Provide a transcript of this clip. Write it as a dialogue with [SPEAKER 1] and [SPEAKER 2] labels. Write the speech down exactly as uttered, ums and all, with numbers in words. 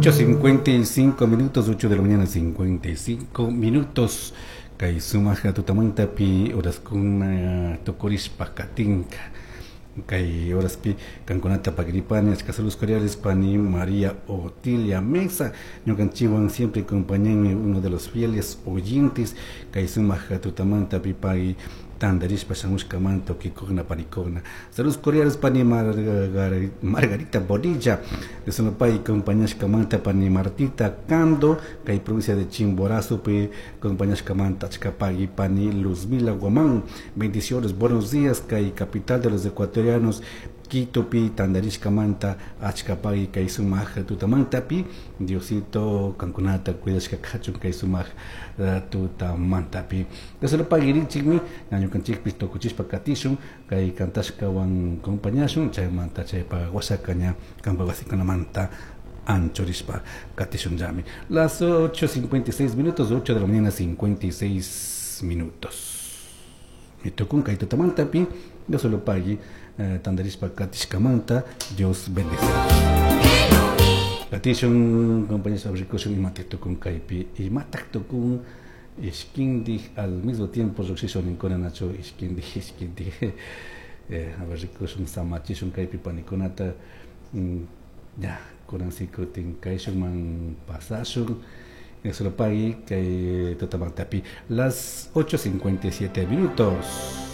[SPEAKER 1] Ocho cincuenta y cinco minutos, ocho de la mañana cincuenta y cinco minutos. Kay sumaja tutamantapi horaskuna tukurishpa katinka. Kay horaspi kankunata pagripani achka saludos cordiales pani María Otilia Mesa ñukanchikwan siempre acompañanmi, uno de los fieles oyentes. Kay sumaja tutamantapi pay tandarishpa shamushkamanta ukikuna panikuna. Saludos cordiales pani Mar Margarita Bonilla de Sonopay acompañashkamanta, pani Martita Cando kay provincia de Chimborazo pi acompañashkamanta achka pagui, pani Luzmila Guamán, bendiciones, buenos días kay capital de los ecuatorianos Quito pi tandarishkamanta achka pagui kay sumaja tutamantapi. Diosito kankunata cuidashka kachun kay sumaj tutamantapi. Solo paguirichikmi ñukanchikpis tukuchishpa katishun kay kantashkawan compañashun chaymanta chaypa wasaka ña kampa wasikunamanta anchurishpa katishun llami. Las ocho cincuenta y seis minutos, ocho de la mañana cincuenta y seis minutos. Mi tukun kay tutamantapi Dios lo pagui eh, tandarishpa katishkamanta. Dios bendice. Katishun compañeros abrikushun imata tukun kaypi imatak tukun ishkindik al mismo tiempo lluqshishun ninkuna nachu ishkindik ishkindik eh, a ver rikushun samachishun kaypi panikunata mm, ya kunan si kutin kayshunman pasashun. Eso lo pagui kay tutamantapi. Las ocho cincuenta y siete minutos.